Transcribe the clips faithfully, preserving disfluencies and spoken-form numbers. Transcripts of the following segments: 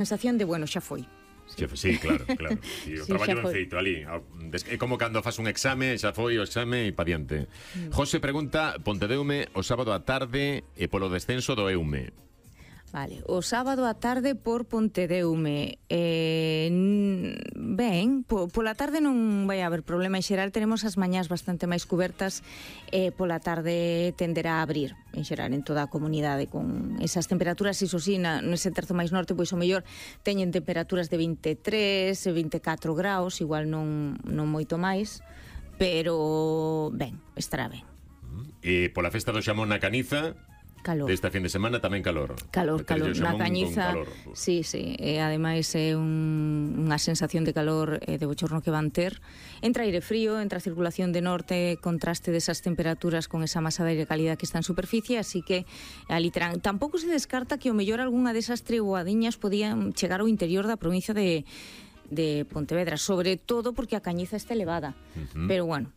sensación de, bueno, xa foi. Sí, sí, claro, claro. Sí, o Sí, traballo xa ben foi. feito ali. É como cando fas un exame, xa foi o exame e pa diante. Mm. José pregunta, Pontedeume o sábado á tarde e polo descenso do Eume. Vale, o sábado á tarde por Pontedeume. Eh, ben, po, pola tarde non vai haber problema. En xeral tenemos as mañás bastante máis cubertas e pola tarde tenderá a abrir, en xeral, en toda a comunidade con esas temperaturas. Iso sí, na, nese terzo máis norte, pois o mellor teñen temperaturas de vinte e tres, vinte e catro graus, igual non, non moito máis, pero ben, estará ben. E pola festa do xamón na Caniza, calor. Desta fin de semana tamén calor. Calor, calor. Na Cañiza, calor. sí, sí. E ademais é un, unha sensación de calor eh, de bochorno que van ter. Entra aire frío, entra circulación de norte, contraste desas temperaturas con esa masa de aire cálida que está en superficie, así que ali terán. Tampouco se descarta que o mellor algunha desas treboadiñas podían chegar ao interior da provincia de, de Pontevedra, sobre todo porque a Cañiza está elevada. Uh-huh. Pero bueno,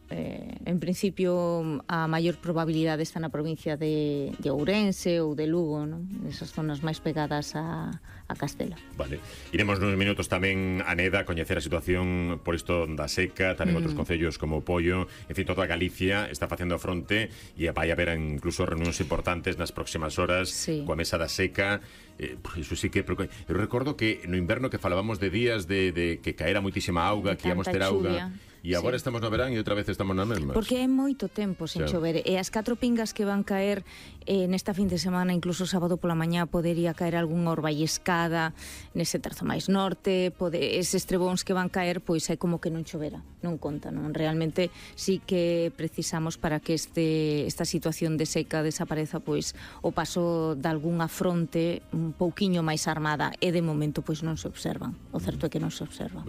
Eh, en principio a maior probabilidade está na provincia de, de Ourense ou de Lugo, non? Esas zonas máis pegadas a, a Castela. Vale, iremos nos minutos tamén a Neda a coñecer a situación por isto da seca, tamén mm. outros concellos como Pollo, en fin, toda Galicia está facendo a fronte e vai haber incluso reunións importantes nas próximas horas, sí, coa mesa da seca. Eh, iso sí que eu recordo que no inverno que falábamos de días de, de que caera moitísima auga, que íamos ter auga. E agora sí, estamos no verán e outra vez estamos na mesma. Porque é moito tempo sen chover. E as catro pingas que van caer eh, nesta fin de semana, incluso sábado pola mañá, podería caer algunha orballescada nese terzo máis norte, pode, eses trebóns que van caer, pois é como que non chovera. Non conta, non? Realmente sí que precisamos para que este esta situación de seca desapareza, pois o paso de algunha fronte un pouquiño máis armada, e de momento pois non se observan. O certo é que non se observan.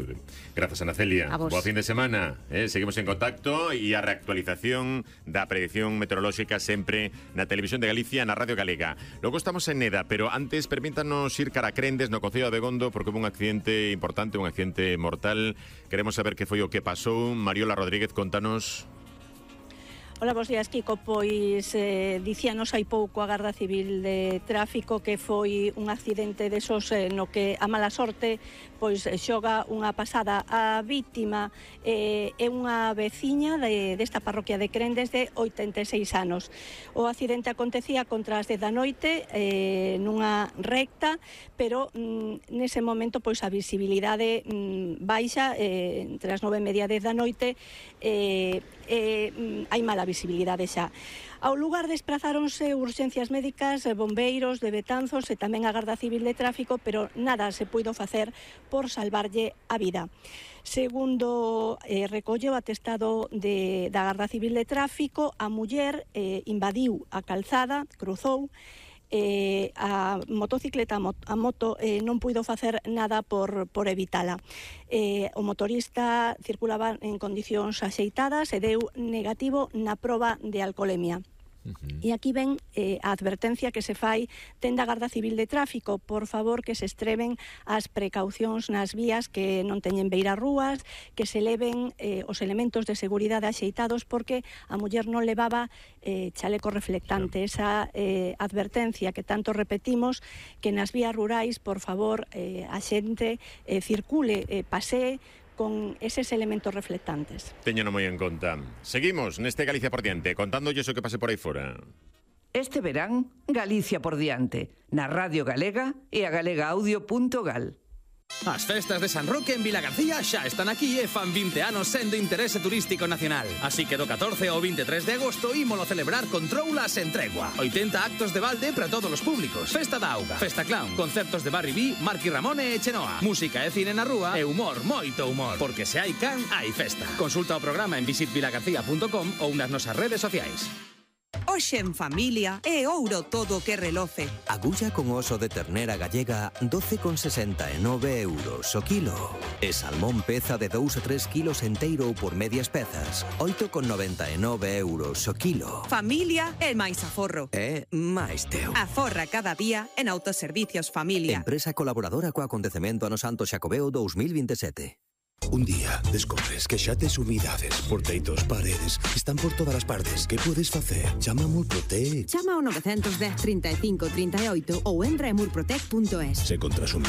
Grazas, Ana Celia. Boa fin de semana. Eh, seguimos en contacto e a reactualización da predicción meteorolóxica sempre na Televisión de Galicia, na Radio Galega. Logo estamos en Neda, pero antes permítanos ir cara a Crendes, no concello de Abegondo, porque houve un accidente importante, un accidente mortal. Queremos saber que foi o que pasou. Mariola Rodríguez, contanos. Ola, bos días, Kiko. Pois eh, dicíanos hai pouco a Garda Civil de Tráfico que foi un accidente desos eh, no que a mala sorte pois xoga unha pasada. A vítima eh, é unha veciña de, desta parroquia de Crendes de oitenta e seis anos. O accidente acontecía contra as dez da noite eh, nunha recta, pero mm, nese momento pois a visibilidade mm, baixa eh, entre as nove e media e dez da noite eh, eh, hai mala visibilidade xa. Ao lugar desprazáronse urxencias médicas, bombeiros de Betanzos e tamén a Garda Civil de Tráfico, pero nada se puido facer por salvarlle a vida. Segundo eh, recolle o atestado de, da Garda Civil de Tráfico, a muller eh, invadiu a calzada, cruzou, Eh, a motocicleta, a moto, eh, non puido facer nada por, por evitala. Eh, o motorista circulaba en condicións axeitadas e deu negativo na proba de alcolemia. Uh-huh. E aquí ven eh, a advertencia que se fai ten da Garda Civil de Tráfico: por favor, que se extremen as precaucións nas vías, que non teñen beira rúas, que se leven eh, os elementos de seguridade axeitados, porque a muller non levaba eh, chaleco reflectante. Sí. Esa eh, advertencia que tanto repetimos, que nas vías rurais, por favor, eh, a xente eh, circule, eh, pasee con eses elementos reflectantes. Téñeno moi en conta. Seguimos neste Galicia por diante, contándolles o que pase por aí fora. Este verán, Galicia por diante, na Radio Galega e a galega audio punto gal. As festas de San Roque en Vilagarcía xa están aquí e fan vinte anos sendo interese turístico nacional. Así que do catorce ao vinte e tres de agosto ímolo celebrar con troulas en tregua. oitenta actos de balde para todos os públicos. Festa da auga, festa clown, concertos de Barry B, Marqui Ramone e Chenoa. Música e cine na rúa e humor, moito humor. Porque se hai can, hai festa. Consulta o programa en visit vilagarcía punto com ou nas nosas redes sociais. Hoxe en familia é ouro todo o que reloce. Agulla con oso de ternera gallega doce con sesenta e nove euros o kilo. E salmón peza de dous a tres kilos enteiro ou por medias pezas, oito con noventa e nove euros o kilo. Familia é máis aforro. É máis teu. Aforra cada día en Autoservicios Familia. Empresa colaboradora co acontecemento ano Santo Xacobeo dous mil vinte e sete. Un día descobres que xa tes humidades por teitos, paredes, están por todas as partes. Que podes facer? Chama a Murprotec. Chama ao nove un cero, trinta e cinco, trinta e oito ou entra en murprotec punto es. Se contras un